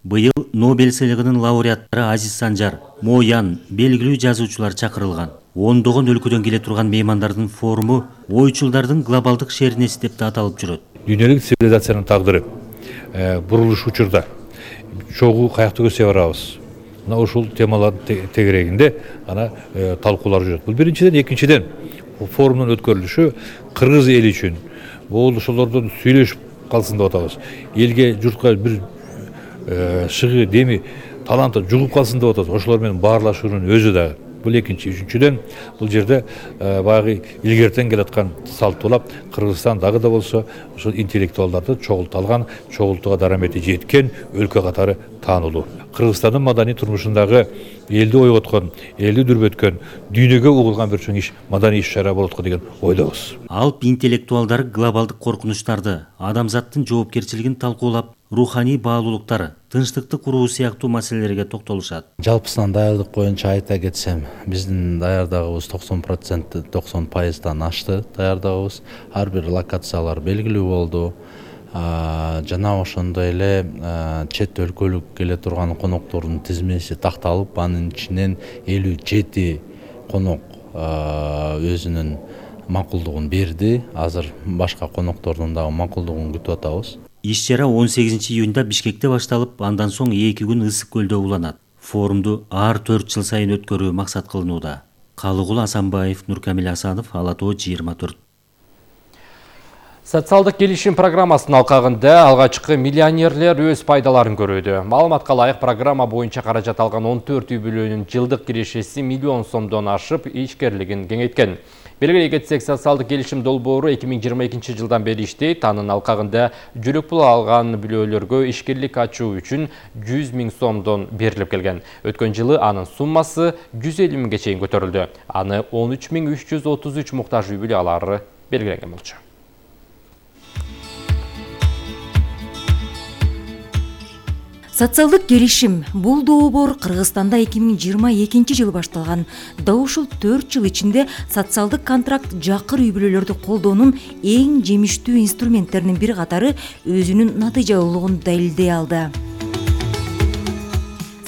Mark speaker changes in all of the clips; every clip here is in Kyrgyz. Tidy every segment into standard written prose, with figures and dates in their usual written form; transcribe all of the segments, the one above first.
Speaker 1: Быйыл Нобель сыйлыгынын лауреаттары Азиз Санжар, Мо Ян, белгилүү жазуучулар чакырылган. Ондогон өлкөдөн келе турган меймандардын форуму ойчулдардын глобалдык шернеси деп аталып жүрөт.
Speaker 2: Дүйнөлүк цивилизациянын тагдыры бурулуш учурда чогуу каякта көзсөй барабыз. Мына ушул темалардын тегерегинде талкуулар жүрөт. Бул биринчиден, экинчиден форумдун өткөрүлүшү кыргыз эли үчүн бул ошолордон сүйлөшүп калсын деп атабыз. Элге, журтка бир шыгы, деми, таланты жугуп калсын деп атабыз. Ошолор менен баарлашуунун өзү да бул экинчи. Үчүнчүдөн бул жерде баягы илгертен келаткан салттуулап Кыргызстан дагы да болсо ушул интеллектуалдарды чогулталган, чогултууга дарамети жеткен өлкө катары таанылуу. Кыргызстандын маданий турмушундагы элди ойготкон, элди дүрбөткөн, дүйнөгө угулган бир чоң маданий иш-чара болот го деген ойдобуз.
Speaker 1: Алп интеллектуалдары глобалдык коркунучтарды, адамзаттын жоопкерчилигин талкуулап, руханий баалуулуктар, тынчтыкты куруу сыяктуу маселелерге токтолушат.
Speaker 3: Жалпысынан даярдык боюнча айта кетсем, биздин даярдыгыбыз 90%, 90%дан ашты даярдыгыбыз. Ар бир локациялар белгилүү болду. Жана ошондой эле чет өлкөлүк келе турган коноктордун тизмеси такталып, анын ичинен 57 конок өзүнүн макулдугун берди. Азыр башка коноктордун дагы макулдугун күтүп атабыз.
Speaker 1: Иш-чара 18 июнда Бишкекте башталып, андан соң 2 күн Ысык көлдө уланат. Форумду ар 4 жыл сайын өткөрүү максат кылынууда. Калыгул Асанбаев, Нуркамил Асанов, Ала Тоо 24.
Speaker 4: Социалдык келишим программасынын алкагында алгачкы миллионерлер өз пайдаларын көрүүдө. Маалыматка ылайык программа боюнча каражат алган 14 үй бүлөнүн жылдык кирешеси миллион сомдон ашып, ишкерлигин кеңейткен. Белгилей кетсек, социалдык келишим долбоору 2022 жылдан бери иштейт. Анын алкагында жөлөк пул алган бүлөлөргө ишкерлик ачуу үчүн 100 000 сомдон берилип келген. Өткөн жылы анын суммасы 150 000 чейин көтөрүлдү. Аны 13 333 муктаж үй бүлө алары белгиленген болчу.
Speaker 5: Социалдык келишим бул долбоор Кыргызстанда 2022 жылы башталган. Да ушул 4 жыл ичинде социалдык контракт жакыр үй бүлөлөрдү колдоонун эң жемиштүү инструменттеринин бир катары өзүнүн натыйжалуулугун далилдей алды.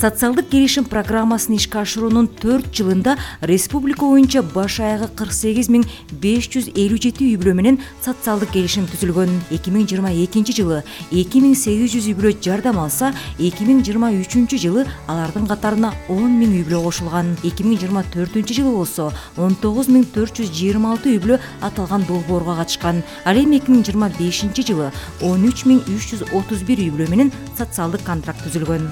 Speaker 5: Социалдык келишим программасын ишке ашыруунун 4 жылында республика боюнча баш аягы 48 557 үй бүлө менен социалдык келишим түзүлгөн. 2022 жылы 2800 үй бүлө жардам алса, 2023 жылы алардын катарына 10 000 үй бүлө кошулган. 2024 жылы болсо 19 426 үй бүлө аталган долбоорго катышкан. Ал эми 2025 жылы 13 331 үй бүлө менен социалдык контракт түзүлгөн.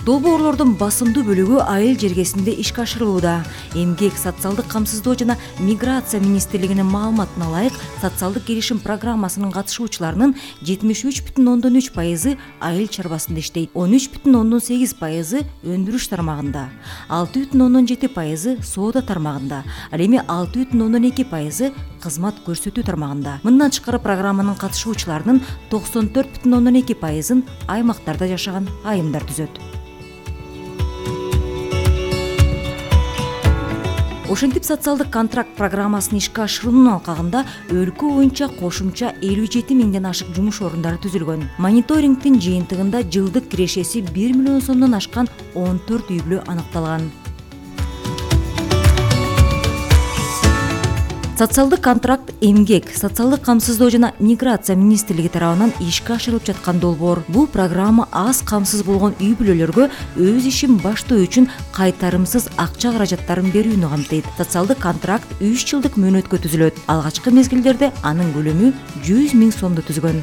Speaker 5: Долбоорлордун басымдуу бөлүгү айыл жергесинде ишке ашырылууда. Эмгек, социалдык камсыздоо жана миграция министрлигинин маалыматына ылайык, социалдык келишим программасынын катышуучуларынын 73,3% айыл чарбасында иштейт, 13,8% өндүрүш тармагында, 6,7% соода тармагында, ал эми 6,2% кызмат көрсөтүү тармагында. Мындан тышкары программанын катышуучуларынын 94,2%-ын аймактарда жашаган айымдар түзөт. Ошентип социалдык контракт программасын ишке ашыруунун алкагында өлкө боюнча кошумча 57 000ден ашык жумуш орундары түзүлгөн. Мониторингдин жыйынтыгында жылдык кирешеси 1 миллион сомдон ашкан 14 үй бүлө аныкталган. Социалдык контракт эмгек, социалдык камсыздоо жана миграция министрлиги тарабынан ишке ашырылып жаткан долбоор. Бул программа аз камсыз болгон үй бүлөлөргө өз ишин баштоо үчүн кайтарымсыз акча каражаттарын берүүнү камтыйт. Социалдык контракт 3 жылдык мөөнөткө түзүлөт. Алгачкы мезгилдерде анын көлөмү 100 000 сомду түзгөн.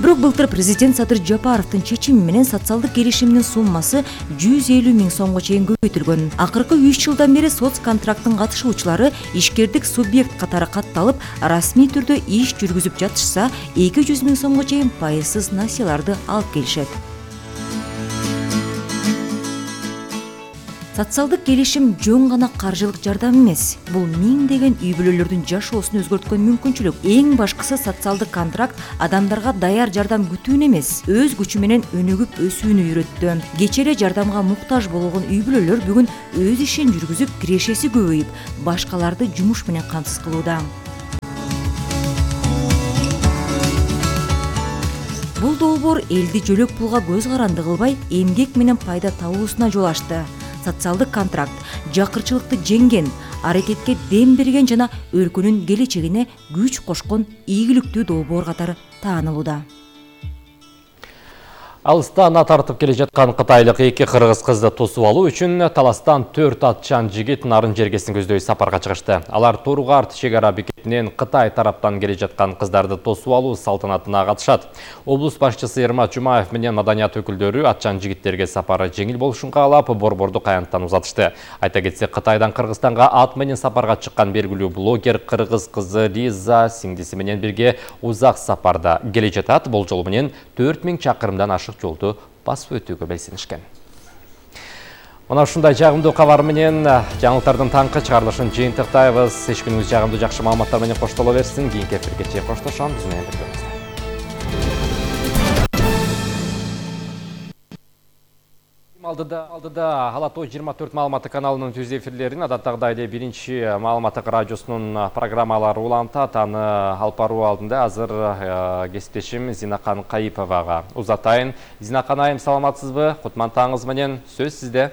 Speaker 5: Бирок былтыр президент Садыр Жапаровдун чечими менен социалдык келишимдин суммасы 150 000 сомго чейин көбөйтүлгөн. Акыркы 3 жылдан бери соцконтракттын катышуучулары ишкердик субъект катары катталып, расмий түрдө иш жүргүзүп жатышса, 200 000 сомго чейин пайызсыз насыяларды алып келишет. Социалдык келишим жөн гана каржылык жардам эмес. Бул миңдеген үй бүлөлөрдүн жашоосун өзгөрткөн мүмкүнчүлүк. Эң башкысы социалдык контракт адамдарга даяр жардам күтүүнү эмес, өз күчү менен өнүгүп өсүүнү үйрөттү. Кечээ эле жардамга муктаж болгон үй бүлөлөр бүгүн өз ишин жүргүзүп, кирешеси көбөйүп, башкаларды жумуш менен камсыз кылууда. Бул долбоор элди жөлөк пулга көз каранды кылбай, эмгек менен пайда табуусуна жол ачты. Социалдык контракт жакырчылыкты жеңген, аракетке дем берген жана өлкөнүн келечегине күч кошкон ийгиликтүү долбоор катары таанылууда.
Speaker 4: Алыстан ат тартып келе жаткан кытайлык 2 кыргыз кызды тосуп алуу үчүн таластан 4 атчан жигит нарын жергесин көздөй сапарга чыгышты. Алар Тургарт чек ара бекетинен Кытай тараптан келе жаткан кыздарды тосуп алуу салтанатына катышат. Облус башчысы Эрмат Жумаев менен маданият өкүлдөрү атчан жигиттерге сапары жеңил болушун каалап, борборду каянттан узатышты. Айта кетсек, Кытайдан Кыргызстанга ат менен сапарга чыккан белгилүү блогер кыргыз кызы Лиза сиңдиси менен бирге узак сапарда келе жатат. Бул жолу менен 4000 чакырымдан ашык жолду басып өтүүгө белсенишкен. Мына ушундай жагымдуу кабар менен жаңылыктардын таңкы чыгарылышын жыйынтыктайбыз. Эч күнүңүз жагымдуу жакшы маалыматтар менен коштоло берсин. Кийинки эфирге чейин коштошом. Биз менен бирге болуңуздар. Алдыда Алатоо 24 маалыматы каналынын түз эфирлерин адаттагыдай эле биринчи маалыматтык радиосунун программалары улантат. Аны алып баруу алдында азыр кесиптешим Зинакан Кайыповага узатайын. Зинакан айым, саламатсызбы? Кутман таңыңыз менен, сөз сизде.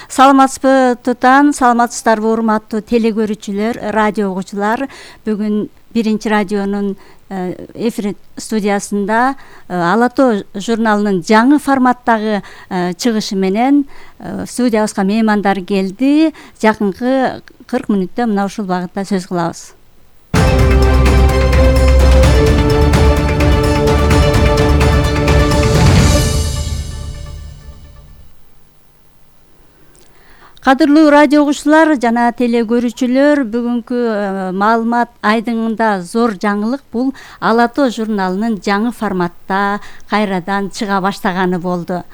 Speaker 6: Саламатсызбы, Тутан? Саламатсыздарбы, урматтуу телекөрүүчүлөр, радио угуучулар? Бүгүн биринчи радионун эфир студиясында Алатоо журналынын жаңы форматтагы чыгышы менен студиябызга меймандар келди. Жакынкы 40 мүнөттө мына ушул багытта сөз кылабыз. Кадырлуу радио угуучулар жана телекөрүүчүлөр, бүгүнкү маалымат айдыңында зор жаңылык бул Алатоо журналынын жаңы форматта кайрадан чыга баштаганы болду.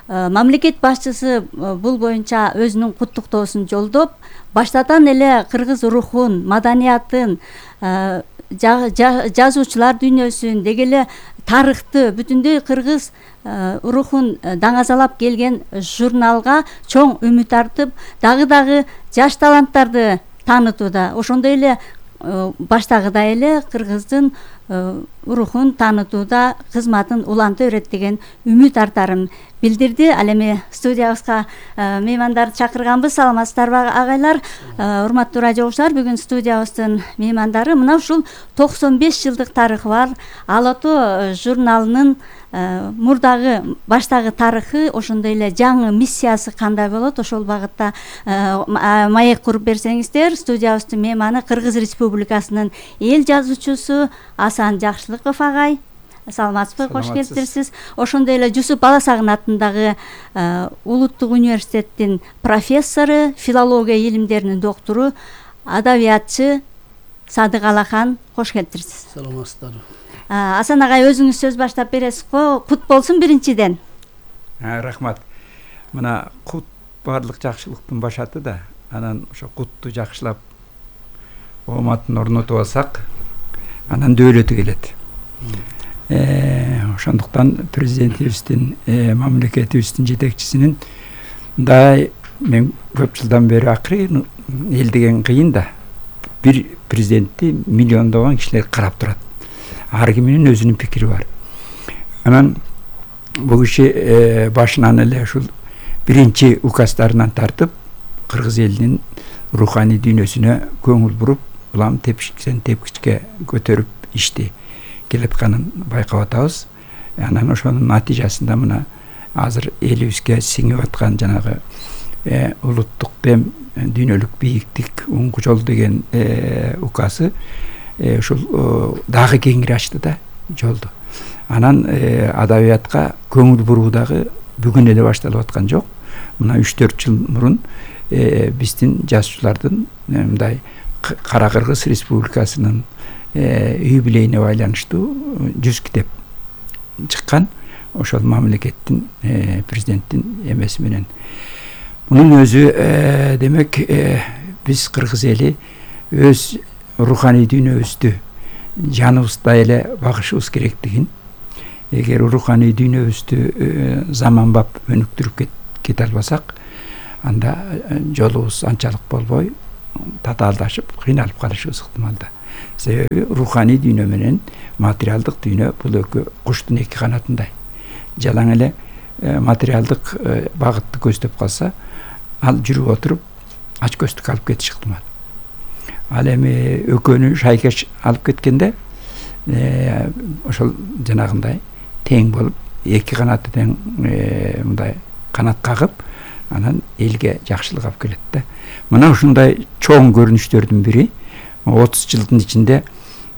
Speaker 6: Мамлекет башчысы бул боюнча өзүнүн куттуктоосун жолдоп, баштадан эле кыргыз рухун, маданиятын, жазуучулар дүйнөсүн, деги эле тарыхты, бүтүндөй кыргыз рухун даңазалап келген журналга чоң үмүт артып, дагы жаш таланттарды таанытууда. Ошондой эле баштагыдай эле кыргыздын рухун таанытууда кызматын уланта берет деген үмүт артарын билдирди. Ал эми студиябызга меймандарды чакырганбыз. Саламатсыздарбы агайлар? Урматтуу радио угуучулар, бүгүн студиябыздын меймандары мына ушул 95 жылдык тарыхы бар Алатоо журналынын мурдагы баштагы тарыхы, ошондой эле жаңы миссиясы кандай болот, ошол багытта маек куруп берсеңиздер. Студиябыздын мейманы Кыргыз Республикасынын эл жазуучусу Асан Жакшылыков агай. Саламатсызбы, кош келиптирсиз. Ошондой эле Жусуп Баласагын атындагы Улуттук университеттин профессору, филология илимдеринин доктору, адабиятчы Садык Алахан, кош келиптирсиз.
Speaker 7: Саламатсыздарбы.
Speaker 6: Асан агай, өзүңүз сөз баштап бересиз го? Кут болсун биринчиден.
Speaker 7: Рахмат. Мына кут баардык жакшылыктын башаты да. Анан ошо кутту жакшылап ооматын орнотуп алсак, анан дөөлөтү келет. Ошондуктан президентибиздин, мамлекетибиздин жетекчисинин мен көп жылдан бери акыры эл деген кыйын да. Бир президентти миллиондогон кишилер карап турат. Ар киминин өзүнүн пикири бар. Анан бул киши башынан эле ушул биринчи указдарынан тартып, кыргыз элинин руханий дүйнөсүнө көңүл буруп, улам тепкичтен тепкичке көтөрүп ишти келатканын байкап атабыз. Анан ошонун натыйжасында мына азыр элибизге сиңип аткан жанагы улуттук дем, дүйнөлүк бийиктик, оңгу жол деген указы ушул дагы кеңири ачты да жолду. Анан адабиятка көңүл буруу дагы бүгүн эле башталып аткан жок. Мына 3-4 жыл мурун биздин жазуучулардын мындай Кара Кыргыз Республикасынын юбилейине байланыштуу 100 китеп чыккан. Ошол мамлекеттин президенттин эмеси менен. Мунун өзү демек биз кыргыз эли өз руханий дүйнөбүздү жаныбыздай эле багышыбыз керектигин, эгер руханий дүйнөбүздү заманбап өнүктүрүп кете албасак, анда жолубуз анчалык болбой, татаалдашып, кыйналып калышыбыз ыктымал да. себеби руханий дүйнө менен материалдык дүйнө бул экөө куштун эки канатындай. Жалаң эле материалдык багытты көздөп калса, ал жүрүп отуруп ач көздүк алып кетиш ыктымал. Ал эми экөөнү шайкеш алып кеткенде ошол жанагындай тең болуп, эки канаты тең мындай канат кагып, анан элге жакшылык алып келет да. Мына ушундай чоң көрүнүштөрдүн бири 30 жылдын ичинде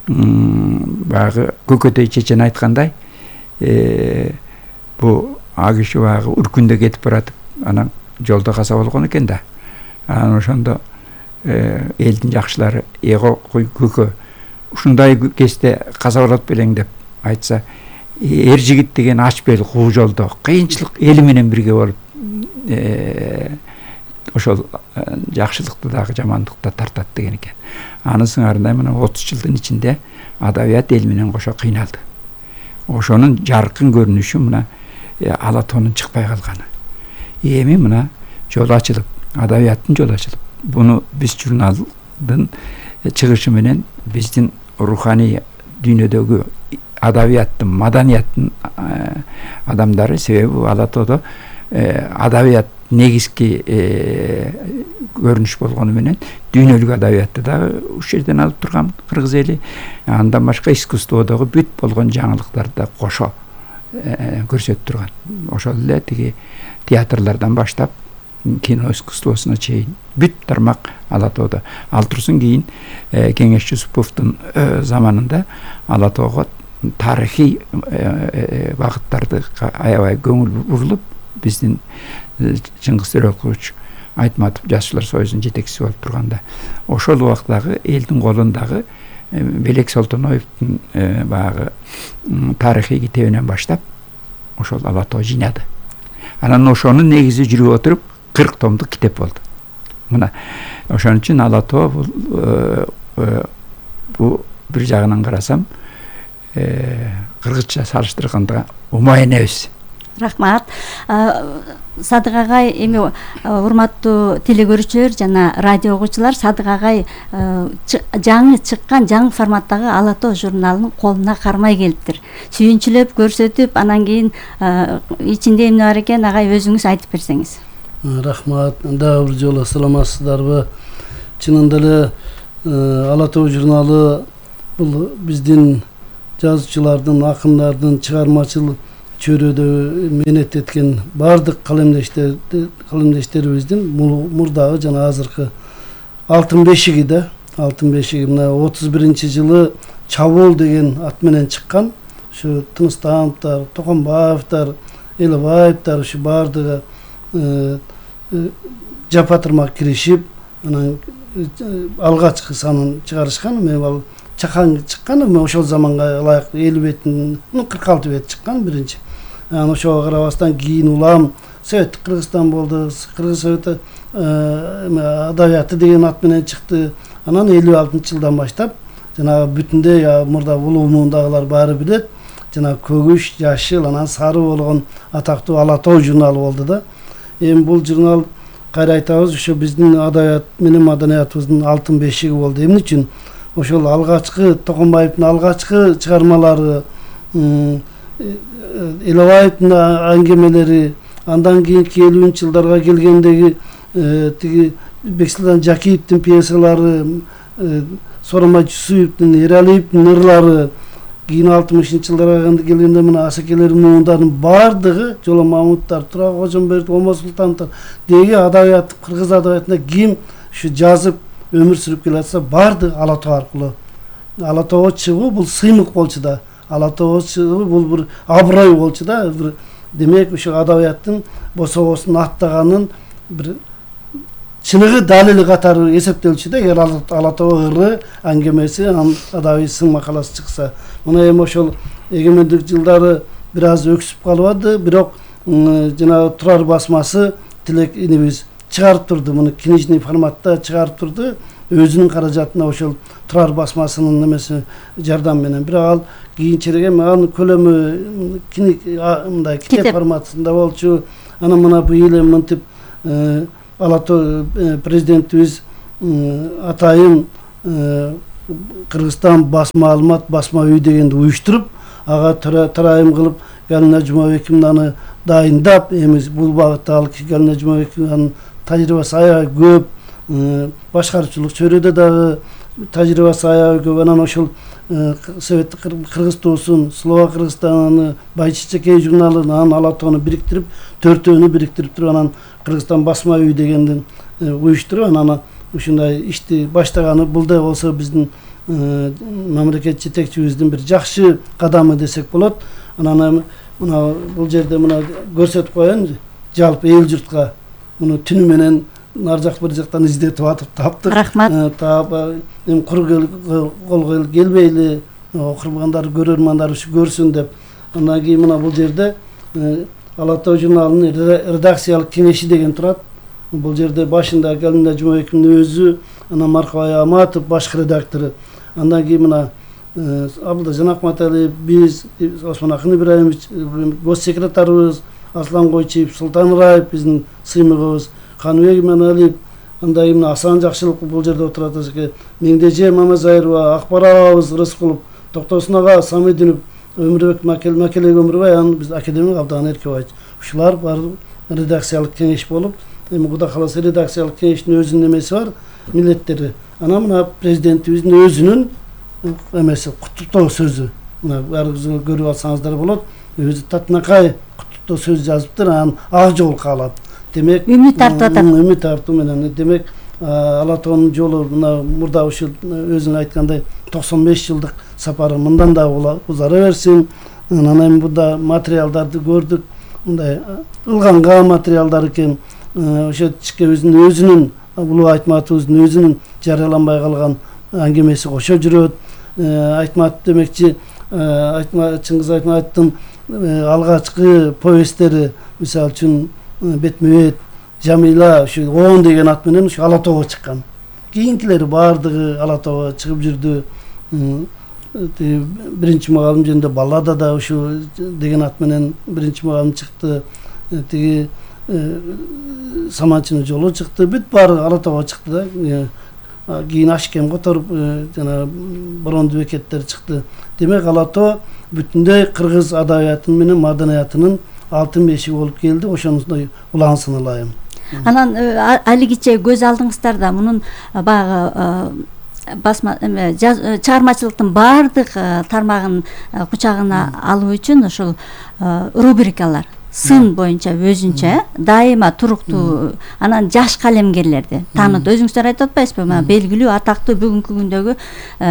Speaker 7: баягы Көкөтөй чечен айткандай, бу киши баягы үркүндө кетип баратып, анан жолдо каза болгон экен да. Анан ошондо элдин жакшылары Көкө ушундай кезде каза болот белең деп айтса, эр жигит деген ач бел куу жолдо кыйынчылык эли менен бирге болуп ошол жакшылыкты дагы жамандыкты да тартат деген экен. Анын сыңарындай мына 30 жылдын ичинде адабият эл менен кошо кыйналды. Ошонун жаркын көрүнүшү мына Ала тоонун чыкпай калганы. Эми мына жол ачылып, адабияттын жолу ачылып, буну биз журналдын чыгышы менен биздин руханий дүйнөдөгү адабияттын, маданияттын адамдары, себеби Ала тоодо адабият негизги көрүнүш болгону менен дүйнөлүк адабиятты дагы ушул жерден алып турган кыргыз эли, андан башка искусстводогу бүт болгон жаңылыктарды да кошо көрсөтүп турган. Ошол эле тиги театрлардан баштап кино искусствосуна чейин бүт тармак Ала тоодо. Ал турсун кийин Кеңеш Жусуповдун заманында Ала тоого тарыхый багыттарды аябай көңүл бурулуп, биздин Чыңгыз Төрөкулович Айтматов Жашчылар союзунун жетекчиси болуп турганда, ошол убактагы элдин колундагы Белек Солтоноевдун баягы тарыхый китебинен баштап ошол Ала тоо жыйнады. Анан ошонун негизи жүрүп отуруп 40 томдук китеп болду. Мына ошон үчүн Ала тоо бул бир жагынан карасам кыргызча салыштырганда умай энебиз.
Speaker 6: Рахмат. Садык агай, эми урматтуу телекөрүүчүлөр жана радио угуучулар, Садык агай жаңы чыккан жаңы форматтагы Ала тоо журналынын колуна кармай келиптир. Сүйүнчүлөп көрсөтүп, анан кийин ичинде эмне бар экен агай өзүңүз айтып берсеңиз.
Speaker 8: Рахмат. Дагы бир жолу саламатсыздарбы? Чынында эле Ала тоо журналы бул биздин жазуучулардын, акындардын чыгармачыл чөйрөдө мээнет эткен баардык калемдештерибиздин мурдагы жана азыркы алтын бешиги да. Алтын бешиги мына 31-жылы Чабуул деген ат менен чыккан. Ушу Тыныстановдор, Токонбаевдер, Элебаевдер ушу баардыгы жапа-тырмак киришип, анан алгачкы санын чыгарышкан. Мен ал чакан чыккан, ошол заманга ылайык 50 беттин, 46 бет чыккан биринчи. Анан ошого карабастан кийин улам Советтик Кыргызстан болду, Кыргыз Совети адабияты деген ат менен чыкты. Анан 56-жылдан баштап жанагы бүтүндөй мурда улуумундагылар баары билет, жана көгүш, жашыл, анан сары болгон атактуу Ала тоо журналы болду да. Эми бул журнал кайра айтабыз, ошо биздин адабият менен маданиятыбыздын алтын бешиги болду. Эмне үчүн? Ошол алгачкы Токонбаевдин алгачкы чыгармалары, Элебаевдин аңгемелери, андан кийинки 50-жылдарга келгендеги тиги Бексултан Жакиевдин пьесалары, Сооронбай Жусуповдун, Эралиевдин ырлары, кийин 60-жылдарга келгенде мына Асекелердин муундарынын баардыгы, Жоло Мамуттар, Тура Кожомбердиев, Омо Султановдор деги адабият, кыргыз адабиятында ким ушу жазып өмүр сүрүп келатса, баардыгы Ала тоо аркылуу. Ала тоого чыгуу бул сыймык болчу да. Ала тоого чыгуу бул бир аброй болчу да. Демек ушу адабияттын бособосун аттаганын бир чыныгы далили катары эсептелчү да. Эгер Ала тоо ыры, аңгемеси, адабий сын макаласы чыкса. Мына эми ошол эгемендик жылдары бир аз өксүп калбады, бирок жанагы Турар басмасы Тилек инибиз чыгарып турду, муну книжный форматта чыгарып турду. Өзүнүн каражатына ошол Турар басмасынын немеси жардам менен. Бирок ал кийинчерээк эми анын көлөмү мындай китеп форматында болчу. Анан мына быйыл мынтип Ала тоо президентибиз атайын Кыргызстан басма маалымат, басма үй дегенди уюштуруп, ага тарайым кылып Галина Жумабековнаны дайындап, эми бул багытта ал Галина Жумабекованын тажрыйбасы аябай көп, башкарчылык чөйрөдө дагы тажрыйбасы аябай көп. Анан ошол Советтик Кыргыз туусун, Слова Кыргызстаны, Байчичекей журналын, анан Ала Тоону бириктирип, төртөөнү бириктирип туруп, анан Кыргызстан басма үй дегенди уюштуруп, анан ушундай ишти баштаганы бул да болсо биздин мамлекет жетекчибиздин бир жакшы кадамы десек болот. Анан мына бул жерде мына көрсөтүп коеюн, жалпы эл журтка муну түнү менен нар жак бир жактан издетип атып таптык.
Speaker 6: Рахмат.
Speaker 8: Таап эми кол келбейли, окурмандар, көрөрмандар ушу көрсүн деп. Андан кийин мына бул жерде Ала Тоо журналынын редакциялык кеңеши деген турат. Бул жерде башында Галина Жумабековдун өзү, анан Маркабай Аматов башкы редактору. Андан кийин мына Абылда Жанакматалиев, биз, Осмонакын Ибраимович, госсекретарыбыз, Аслан Койчиев, Султан Раев биздин сыймыгыбыз, Каныбек Иманалиев, андан кийин Асан Жакшылык бул жерде отурат экен. Меңдеже Мамазайрова, Акбарабыз Рыскулов, Токтосун ага Самидинов, Өмүрбек Макелек Өмүрбай, анан биз академик Абдан Эркебаевич. Ушулар бар редакциялык кеңеш болуп, эми Кудай кааласа редакциялык кеңештин өзүнүн эмеси бар, милдеттери. Анан мына президентибиздин өзүнүн эмеси, куттуктоо сөзү. Мына баарыңыз көрүп алсаңыздар болот. Өзү татынакай куттуктоо сөз жазыптыр, анан ак жол каалап. Демек,
Speaker 6: үмүт артып атат.
Speaker 8: Үмүт артуу менен. Демек, Ала Тоонун жолу мына мурда ушул өзүң айткандай 95 жылдык сапары мындан да узара берсин. Анан эми бунда материалдарды көрдүк. Мындай ылганга материалдар экен. Ошо өзүнүн Улуу Айтматовдун өзүнүн жарыяланбай калган аңгемеси кошо жүрөт. Айтматов демекчи, Чыңгыз Айтматовдун алгачкы повесттери, мисалы үчүн Бетмебет, Жамила, ушу 10 деген ат менен ушу Ала Тоого чыккан. Кийинкилери баардыгы Ала Тоого чыгып жүрдү. Биринчи мугалим жөнүндө Баллада да ушу деген ат менен биринчи мугалим чыкты. Тиги Саманчынын жолу чыкты. Бүт баары Ала Тоого чыкты да. Кийин Ашкем которуп, жана Борондуу бекеттер чыкты. Демек Ала Тоо бүтүндөй кыргыз адабиятынын менен маданиятынын алтын бешиги болуп келди. Ошондой улансын ылайым.
Speaker 6: Анан алигиче көз алдыңыздарда мунун баягы басма чыгармачылыктын баардык тармагын кучагына алуу үчүн ошол рубрикалар сын боюнча өзүнчө дайыма туруктуу, анан жаш калемгерлерди таанып, өзүңүздөр айтып атпайсызбы? Белгилүү атактуу бүгүнкү күндөгү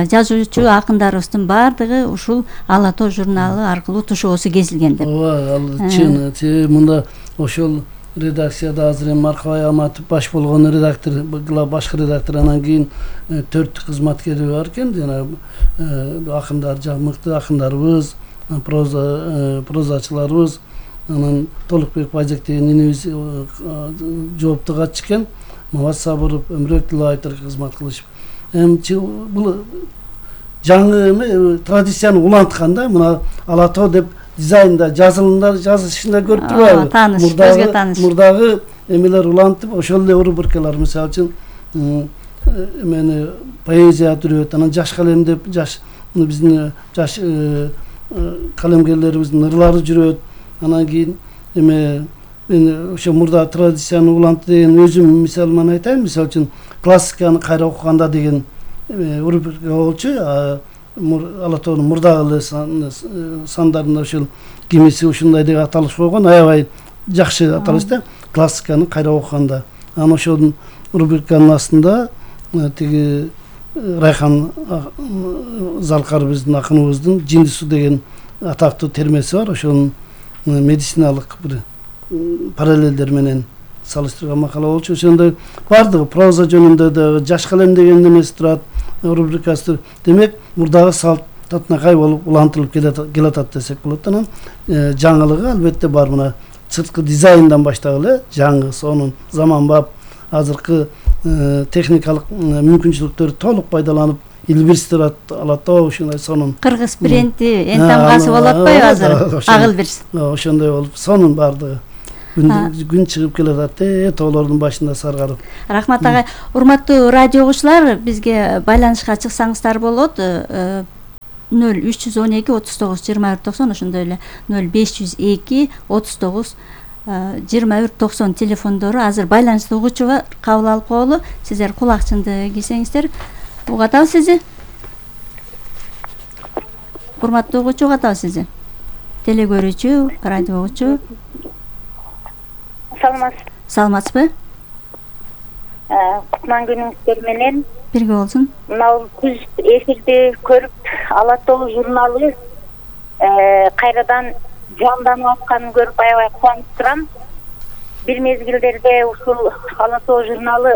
Speaker 6: жазуучу акындарыбыздын баардыгы ушул Ала Тоо журналы аркылуу тушоосу кезилген деп.
Speaker 8: Ооба, ал чын. Мында ошол редакцияда азыр эми Маркабай Аматов баш болгон редактор, башкы редактор, анан кийин 4 кызматкери бар экен. Жана акындар, мыкты акындарыбыз, прозачыларыбыз, анан Толукбек Байжек деген инебиз жоопту катчы экен. Мават Сабыров, Өмүрбек Дилбаевдер кызмат кылышып. Эми бул жаңы традицияны улантканда мына Ала Тоо деп дизайнда, жазышында көрүп турбайбы?
Speaker 6: Тааныш, көзгө тааныш.
Speaker 8: Мурдагы эмелер улантып, ошол эле рубрикалар, мисалы үчүн эмени поэзия жүрөт, анан жаш калем деп биздин жаш калемгерлерибиздин ырлары жүрөт. Анан кийин мен ошо мурда традицияны улантты деген өзүм мисалыман айтайын. Мисалы үчүн классиканы кайра окуганда деген рубрика болчу. Ала Тоонун мурдагы сандарында ошол кимиси ушундай деп аталыш койгон, аябай жакшы аталыш да, классиканы кайра окуганда. Анан ошонун рубриканын астында тиги Райхан Залкар биздин акыныбыздын Жиндису деген атактуу термеси бар. Ошонун медициналык бир параллелдер менен салыштырган макала болчу. Ошондой баардыгы проза жөнүндө да жаш калем деген немеси турат, рубрикасы. Демек, мурдагы салт татынакай болуп улантылып келатат десек болот. Анан жаңылыгы албетте бар. Мына сырткы дизайндан баштап эле жаңы, сонун заманбап азыркы техникалык мүмкүнчүлүктөрү толук пайдаланып илбирстират Ала Тоо ушундай сонун.
Speaker 6: Кыргыз принти эн тамгасы болуп атпайбы азыр? Агыл бир.
Speaker 8: Ошондой болуп сонун баардыгы. күн чыгып келатат тоолордун башында саргарып.
Speaker 6: Рахмат агай. Урматтуу радио угуучулар, бизге байланышка чыксаңыздар болот. 0312 39 21 90 ошондой эле 0502 39 21 90 телефондору. Азыр байланышты угуучуга кабыл алып коелу. Сиздер кулакчынды кийсеңиздер. Угатабыз сизди. Урматтуу угуучу, угатабыз сизди. Теле көрүүчү, радио угуучу. Саламатсызбы?
Speaker 9: Кутман күнүңүздөр менен.
Speaker 6: Бирге болсун.
Speaker 9: Мына күз эфирди көрүп, Ала тоо журналы кайрадан жанданып атканын көрүп аябай кубанып турам. Бир мезгилдерде ушул Ала тоо журналы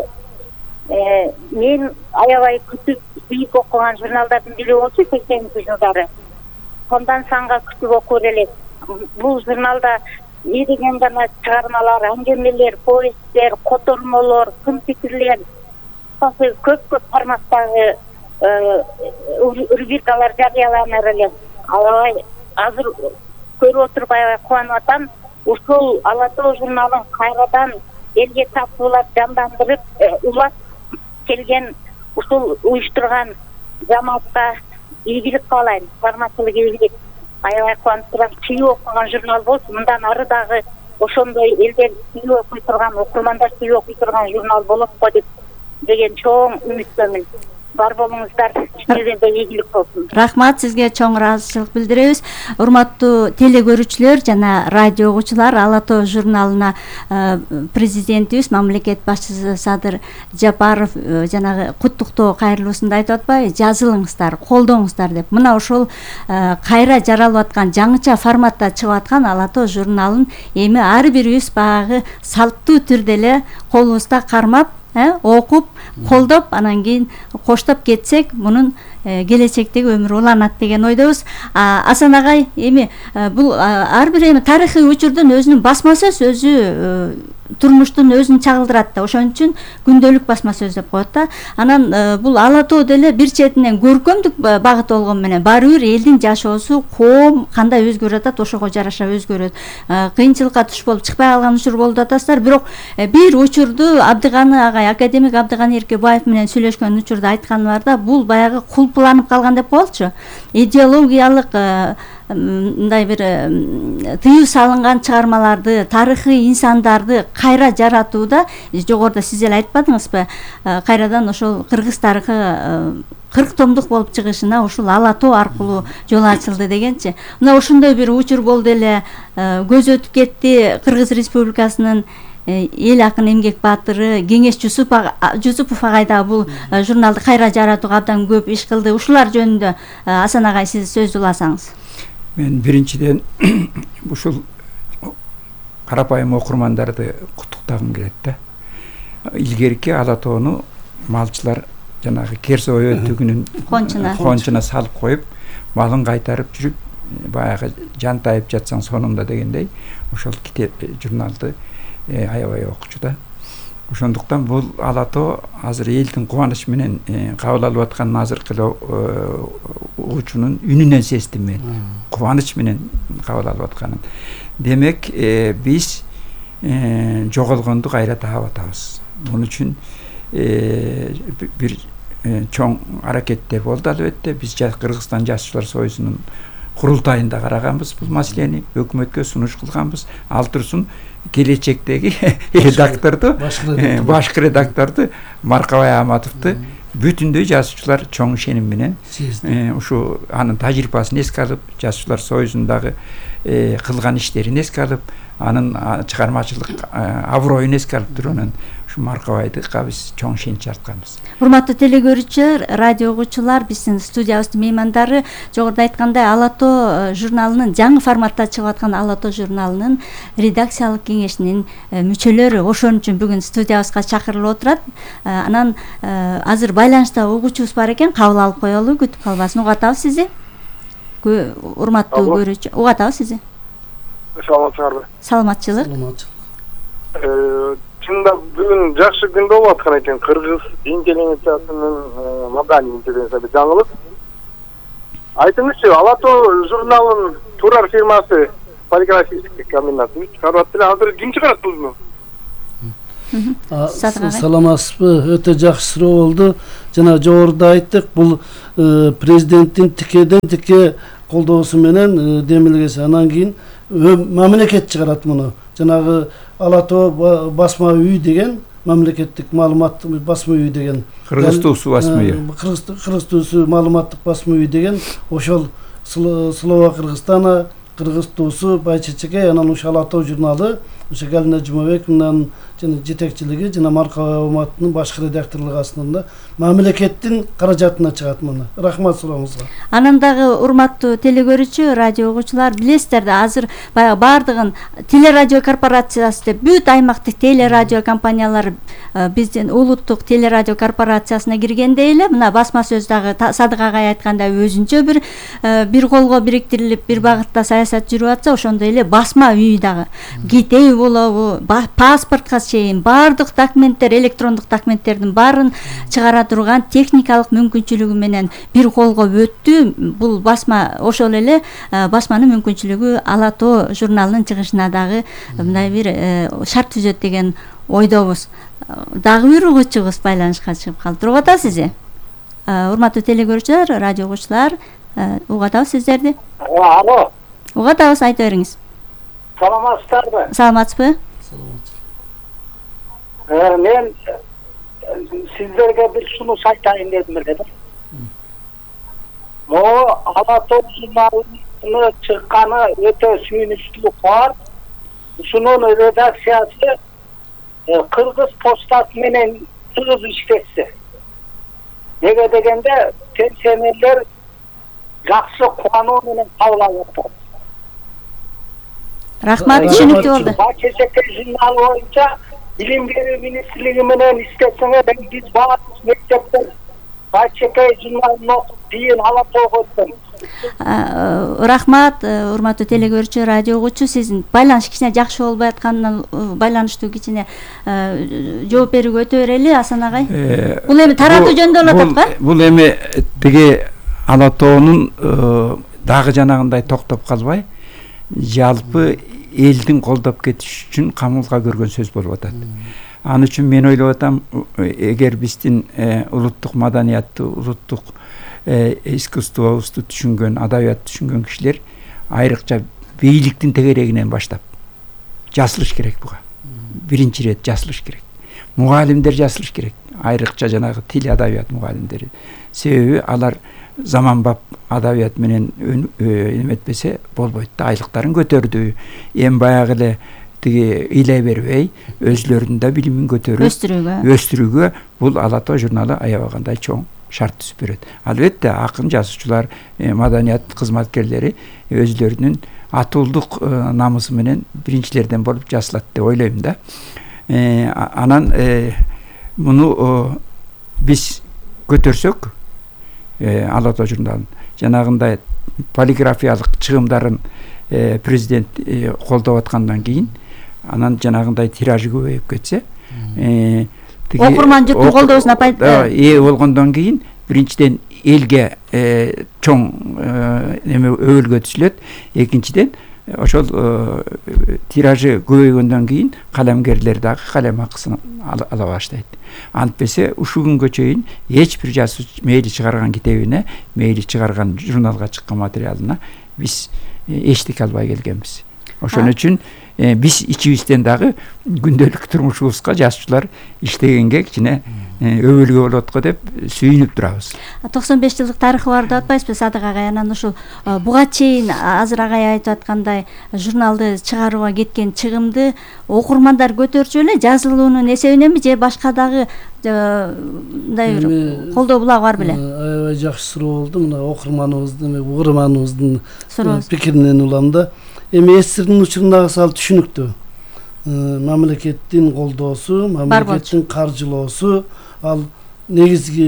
Speaker 9: мен аябай күтүп сүйүп окуган журналдардын бири болчу 80-ci жылдары. Сондан санга күтүп окур элек. Бул журналда не деген гана чыгармалар, аңгемелер, повесттер, котормолор, сын пикирлер, көп форматтагы рубрикалар жарыяланар эле. Албай азыр көрүп отуруп аябай кубанып атам. Ушул Ала тоо журналын кайрадан элге тартуулап жандандырып, улап келген ушул уюштурган жамаатка ийгилик каалайм, бармачылык ийгилик. Аябай кубанып турам. Сүйүп окуган журнал болсун. Мындан ары дагы ошондой элдер сүйүп окуй турган, окурмандар сүйүп окуй турган журнал болот го деген чоң үмүттөмүн. Бар болуңуздар, ишиңизде ийгилик болсун.
Speaker 6: Рахмат, сизге чоң ыраазычылык билдиребиз. Урматтуу теле көрүүчүлөр жана радио угуучулар, Ала тоо журналына президентибиз, мамлекет башчысы Садыр Жапаров жанагы куттуктоо кайрылуусунда айтып атпайбы? Жазылыңыздар, колдоңуздар деп. Мына ошол кайра жаралып аткан, жаңыча форматта чыгып аткан Ала тоо журналын эми ар бирибиз баягы салттуу түрдө эле колубузда кармап, окуп, колдоп, анан кийин коштоп кетсек, мунун келечектеги өмүрү уланат деген ойдобуз. Асан агай, эми бул ар бир эми тарыхый учурдун өзүнүн басма сөз, өзү турмуштун өзүн чагылдырат да, ошон үчүн күндөлүк басма сөз деп коет да. Анан бул Ала тоо деле бир четинен көркөмдүк багыт болгон менен баары бир элдин жашоосу, коом кандай өзгөрүп атат, ошого жараша өзгөрөт. Кыйынчылыкка туш болуп чыкпай калган учур болуп атасыздар, бирок бир учурду Абдыганы агай, академик Абдыганы Эркебаев менен сүйлөшкөн учурда айтканы бар да, бул баягы кулпуланып калган деп коелучу. Идеологиялык мындай бир тыюу салынган чыгармаларды, тарыхый инсандарды кайра жаратууда, жогоруда сиз эле айтпадыңызбы, кайрадан ошол кыргыз тарыхы 40 томдук болуп чыгышына ушул Ала тоо аркылуу жол ачылды дегенчи. Мына ошондой бир учур болду эле, көз өтүп кетти. Кыргыз Республикасынын эл акын эмгек баатыры Кеңеш Жусупов агай да бул журналды кайра жаратууга абдан көп иш кылды. Ушулар жөнүндө Асан агай сиз сөз уласаңыз.
Speaker 7: Мен биринчиден ушул карапайым окурмандарды куттуктагым келет да. Илгерки Ала тоону малчылар жанагы Керсо өтүгүнүн кончуна салып коюп, малын кайтарып жүрүп, баягы жантайып жатсаң сонунда дегендей, ошол китеп журналды аябай окучу да. Ошондуктан бул Ала тоо азыр элдин кубаныч менен кабыл алып аткан азыркы угуучунун үнүнөн сездим мен. Кубаныч менен кабыл алып атканын. Демек, биз жоголгонду кайра таап атабыз. Мун үчүн бир чоң аракеттер болду албетте. Биз Кыргызстан Жазуучулар Союзунун курултайында караганбыз бул маселени, өкмөткө сунуш кылганбыз. Ал турсун келечектеги редакторду, башкы редакторду Маркабай Аматовду бүтүндөй жазуучулар чоң ишеним менен ушу анын тажрыйбасын эске алып, Жазуучулар Союзундагы кылган иштерин эске алып, анын чыгармачылык аброюн эске алып турган ушу Маркабайды биз чоң ишенич артканбыз.
Speaker 6: Урматтуу теле көрүүчүлөр, радио угуучулар, биздин студиябыздын меймандары жогоруда айткандай Ала тоо журналынын жаңы форматта чыгып аткан Ала тоо журналынын редакциялык кеңешинин мүчөлөрү. Ошон үчүн бүгүн студиябызга чакырылып отурат. Анан азыр байланышта угуучубуз бар экен, кабыл алып коелу, күтүп калбасын. Угатабыз сизди. Урматтуу көрүүчү, угатабыз сизди.
Speaker 10: Саламатсыздарбы?
Speaker 6: Саламатчылык.
Speaker 10: Чында бүгүн жакшы күн болуп аткан экен. Кыргыз интеллигенциясынын маданий интеллигенциясы жаңылык. Айтыңызчы, Ала тоо журналынын турар фирмасы полиграфический комбинат чыгарып атты эле. Азыр ким чыгарат бузуну?
Speaker 8: Саламатсызбы? Өтө жакшы суроо болду. Жана жогоруда айттык, бул президенттин тикеден тике колдоосу менен демилгеси. Анан кийин мамлекет чыгарат муну. Жанагы Ала Тоо басма үй деген мамлекеттик маалымат басма үй деген.
Speaker 7: Кыргыз туусу басма үй.
Speaker 8: Кыргыз туусу маалыматтык басма үй деген ошол Слова Кыргызстана, Кыргыз туусу Байчечекей, анан ошо Ала Тоо журналы, ошо Галина Жумабековнун жана жетекчилиги жана Маркова Уматтын башкы редакторлугу астында мамлекеттин каражатына чыгат муну. Рахмат сурооңузга.
Speaker 6: Анан дагы урматтуу телегөрүүчү, радио угуучулар, билесиздер да, азыр баягы баардыгын телерадио корпорациясы деп бүт аймактык телерадио компаниялар биздин улуттук телерадио корпорациясына киргенде эле мына басма сөз дагы Садык агай айткандай өзүнчө бир колго бириктирилип бир багытта саясат жүрүп атса, ошондой эле басма үй дагы китеби болобу, паспортко чейин баардык документтер, электрондук документтердин баарын чыгара турган техникалык мүмкүнчүлүгү менен бир колго өттү. Бул басма ошол эле басманын мүмкүнчүлүгү Ала Тоо журналынын чыгышына дагы мындай бир шарт түзөт деген ойдобуз. Дагы бир угуучубуз байланышка чыгып калды. Угуп атасызбы? Урматтуу телегөрүүчүлөр, радио угуучулар, угуп атабыз сиздерди.
Speaker 11: Алло.
Speaker 6: Угуп атабыз, айта бериңиз.
Speaker 11: Саламатсыздарбы?
Speaker 6: Саламатсызбы?
Speaker 11: Мен сиздерге бир сунуш айтайын дедим эле да. Могу Ала Тоо журналына чыкканы өтө сүйүнүчтүү бар. Ушунун редакциясы Кыргыз почтасы менен тыгыз иштешсе. Неге дегенде пенсионерлер жакшы кубануу менен кабыл алып атат.
Speaker 6: Рахмат, түшүнүктүү болду.
Speaker 11: Байчечекей журналы боюнча билим берүү министрлиги менен иштесеңер, биз баардык мектептер Байчечекей журналын окуп кийин Ала Тоого өттүм.
Speaker 6: Рахмат, урматтуу телегөрүүчү, радио угуучу, сиздин байланыш кичине жакшы болбой атканынан байланыштуу кичине жооп берүүгө өтө берели, Асан агай. Бул эми таратуу жөнүндө болуп атат го?
Speaker 7: Бул эми тиги Ала Тоонун дагы жанагындай токтоп калбай, жалпы элдин колдоп кетиш үчүн камылга көргөн сөз болуп атат. Аны үчүн мен ойлоп атам, эгер биздин улуттук маданиятты, улуттук искусствобузду түшүнгөн, адабиятты түшүнгөн кишилер айрыкча бийликтин тегерегинен баштап жасылыш керек буга. Биринчи ирет жасылыш керек. Мугалимдер жасылыш керек. Айрыкча жанагы тил адабият мугалимдери. Себеби алар заманбап адабият менен эметпесе болбойт да, айлыктарын көтөрдү. Эми баягы эле тиги ыйлай бербей, өзлөрүнүн да билимин көтөрүп өстүрүүгө бул Ала Тоо журналы аябагандай чоң шарт түзүп берет. Албетте акын жазуучулар, маданият кызматкерлери өзлөрүнүн атуулдук намысы менен биринчилерден болуп жазылат деп ойлойм да. Анан муну биз көтөрсөк, Ала Тоо журналын жанагындай полиграфиялык чыгымдарын президент колдоп аткандан кийин, анан жанагындай тиражы көбөйүп кетсе,
Speaker 6: окурман жуттун колдоосуна
Speaker 7: ээ болгондон кийин биринчиден элге чоң эме өбөлгө түшүлөт. Экинчиден ошол тиражы көбөйгөндөн кийин калемгерлер дагы калем акысын ала баштайт. Антпесе ушул күнгө чейин эч бир жазуучу мейли чыгарган китебине, мейли чыгарган журналга чыккан материалына биз эчтеке албай келгенбиз. Ошон үчүн биз ичибизден дагы күндөлүк турмушубузга жазуучулар иштегенге кичине өбөлгө болот го деп сүйүнүп турабыз.
Speaker 6: 95 жылдык тарыхы бар деп атпайсызбы Садык агай? Анан ушул буга чейин азыр агай айтып аткандай журналды чыгарууга кеткен чыгымды окурмандар көтөрчү эле жазылуунун эсебиненби же башка дагы мындай бир колдоо булагы бар беле?
Speaker 8: Аябай жакшы суроо болду. Мына окурманыбыздын, угарманыбыздын пикиринен улам да. Эми эсирдин учурундагы сал түшүнүктүү. Мамлекеттин колдоосу, мамлекеттин каржылоосу ал негизги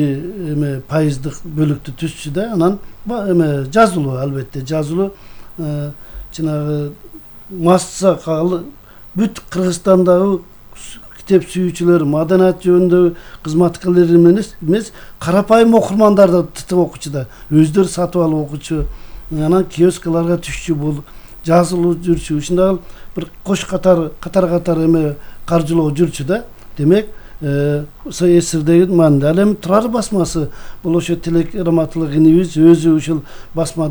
Speaker 8: эме пайыздык бөлүктү түзчү да. Анан эме жазылуу, албетте жазылуу жанагы масса бүт Кыргызстандагы китеп сүйүүчүлөр, маданият жөнүндөгү кызматкерлер эмес, карапайым окурмандар да тытып окучу да, өздөрү сатып алып окучу. Анан киоскаларга түшчү бул жазылуу жүрчү, ушундай бир кош катар эме каржылоо жүрчү да. Демек эсирдеги маанында. Ал эми Турар басмасы бул ошо Тилек Раматылык инибиз өзү ушул басма